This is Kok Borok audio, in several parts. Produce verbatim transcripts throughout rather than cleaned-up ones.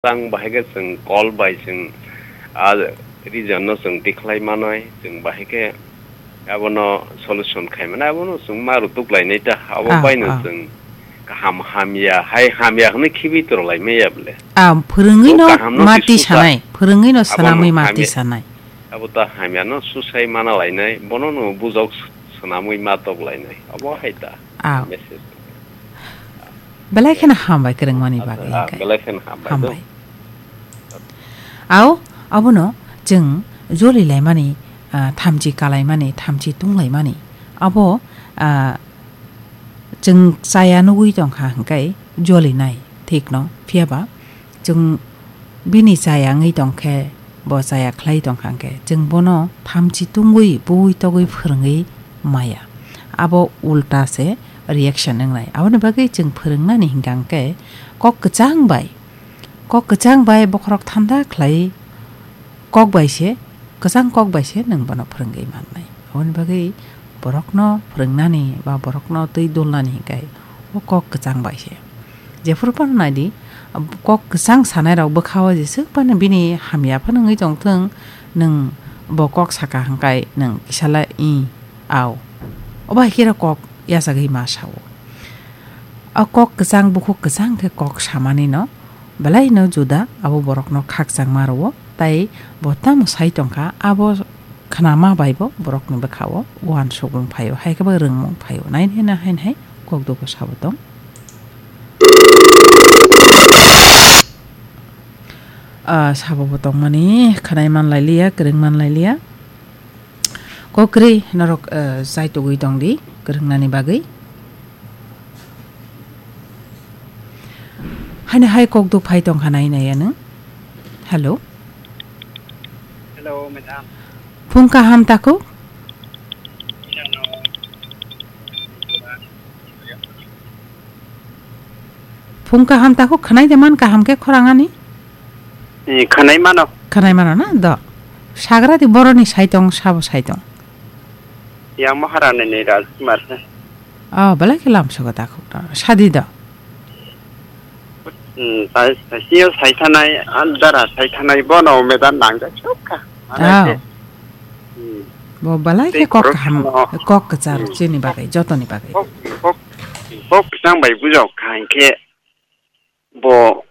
Tang bahai khe chwng call bai chwng, ah, region no chwng tikhlai manwi, chwng bahai khe abono solution khai manai, abono chwng ma rutuk lainai ta, abo Ah, baino ah. chwng kaham hamya, hai hamya hwnwi khibi toro lai maya bole. Ah, phwrwngwi Bo no kaham no mati tisusa. Sanai, phwrwngwi no Abono swnamwi mati hamya. Sanai. Abo ta hamya no susai mana lainai, bono no bujok swnamwi ma tok lainai, abo hai ta. Ah. Message. Belai kheno hambai kwrwngmani Acha, bagwi ah, hwnkhe. Belai kheno hambai. Hambai. Au, abono chwng joli laimani, ah, thamchi kalaimani, thamchi tunglaimani. Abo, ah, chwng chaya nugwi tongkha hwnkhe jolinai, thikno. Phiyaba chwng bini chaya wngwi tongkhe, bo chaya khlai tongkha hwnkhe, chwng bono thamchi tungwi, bui togwi phwrwngwi maya. Abo ulta se reaction wngnai. Aboni bagwi chwng phwrwngnani hwnkha hwnkhe kok kwchang bai, kok kwchang bai bokhorok thanda khlai kok bai se, kwchang kok bai se nwng bono phwrwngwi mannai. Aboni bagwi borokno phwrwngnani ba borokno twi dulnani hwnkhe o kok kwchang bai se. Jephuru phano naidi, kok kwchang sanai rok bwkha o jeswk phano bini hamya phano wngwi tongthwng, nwng bo kok saka hwnkhe nwng kisala i au. Obo hai khe kok yachagwi ma sao. O kok kwchang bukhuk kwchang khe kok samani no belai no juda abo borok no khakchangma rwo, tai bo tamo sai tongkha abo khnama bai bo borok ni bwkha o uansukmung phai o, hai khe bo rwngmung phai o. Nai nai nai hai nai kok dugo sabo tong. Ah, sabo bo tongmani khnai man lai liya, kwrwng man lai liya. Kok kwrwi norok, eh, chai tugwi tong di, kwrwngnani bagwi. Haino hai kok duk phai tong kha nai nai ano. Hello. Hello, madam. Phung kaham takhuk? Phung kaham takhuk, khwnai de man kaham khe khorang ani? Eh, khwnai mano. Khwnai mano na do. Sagra di boroni saitong, sabo saitong. Yang Maharani ni Rajkumar se. Oh, belai khe lam sogo takhuk do. Sadi do. Hmm, tai, tai, sio sai thanai, an dara sai thanai bono medan nang jak sok kha. Mane Ah. Ke, hmm. Bo belai khe Tei kok khorok kaham, no. Kok kwchar Hmm. Chini bagwi, jotoni bagwi. Kok, kok, kok kwchang bai bujok kha hwnkhe bo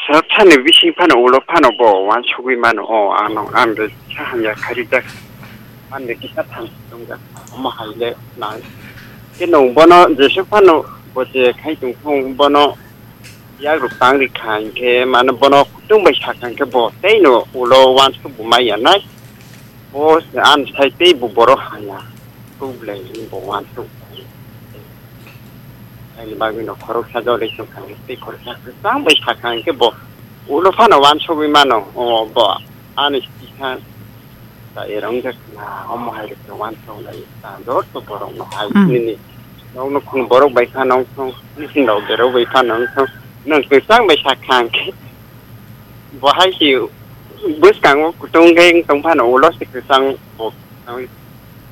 sir thani bising phano ulo phano bo uansugwi mano. O ano ang de sa hamya kharijak. Ang de kisa than tongja. Omo hai le nai. Ke nung bono jesuk phano bo je khai tong thung bono yak ruk tang ri kha hwnkhe mano bono kutung bai sa kha hwnkhe bo tei no ulo uansuk bo mai ya nai. Bo se an sai tei bo borok haya. Kuk belai ni bo uansuk. Ani bagwi no khoroksa jolai tong kha, tei khoroksa kwchang bai sa kha hwnkhe bo ulo phano uansugwi mano. O bo ani kisa ta era wngkha kha, omo hai rok uansuk lai ta joto borok no hai Hmm. Nini nok no khun borok bai phano wngthong, nini rok berok bai phano wngthong, nwng kwchang bai sa kha hwnkhe bo hai se bwskango kutung khe wng tong phano ulo se kwchang bo.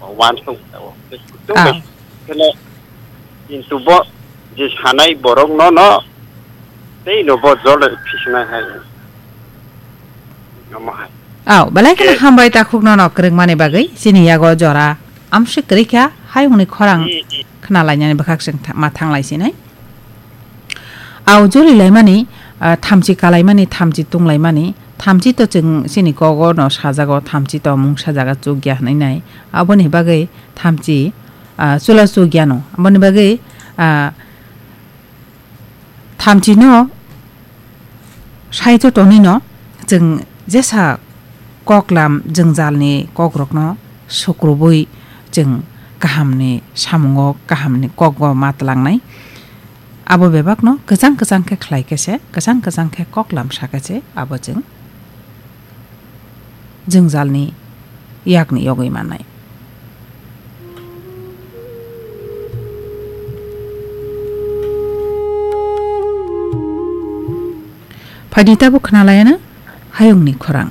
Uansuk tao. Kutung Ah. Bai kheno kintu bo je sanai borok no no tei no bo jole phisnai hai. Omo hai. Au, belai kheno Ke- Hambai takhuk no no kwrwngmani bagwi chini yago jora amswk kwrwi kha hayungni khorang Hmm, hmm. Khna lainani bwkhak chwng tha-, ma thang lai sinai. Au joli laimani, ah, thamchi kalaimani, thamchi tunglaimani, thamchi to chwng chini kogo no sajago, thamchi to mungsa jaga chukya hwnwi nai. Aboni bagwi thamchi, ah, chula chukya no. Aboni bagwi, ah, thamchi no sai to tonwi no chwng jesa koklam jwngjalni kokrokno sukrubui chwng kahamni samungo kahamni kokbo ma twlangnai. Abo bebakno kwchang kwchang khe khlai khe se, kwchang kwchang khe koklam sa khe se abo chwng jwngjalni yakni yogwi mannai. Phaidi tabuk khna laiya na hayungni khorang.